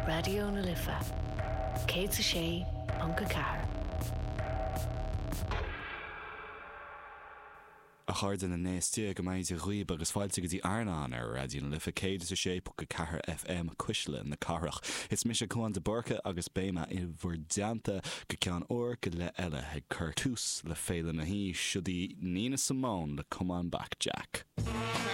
Raidió na Life 106.4. A chairde na n-aos Dia go mbeidh Dia dhaoib agus fáilte go dtí Airneán ar Raidió na Life 106.4 FM, Cuisle na Cathrach. Is mise Cúán de Búrca agus beidh mé i bhur dteannta go ceann uair go leith eile ag cur tús le Féile na hAoise. Siod í Nina Simone le Come On Back Jack.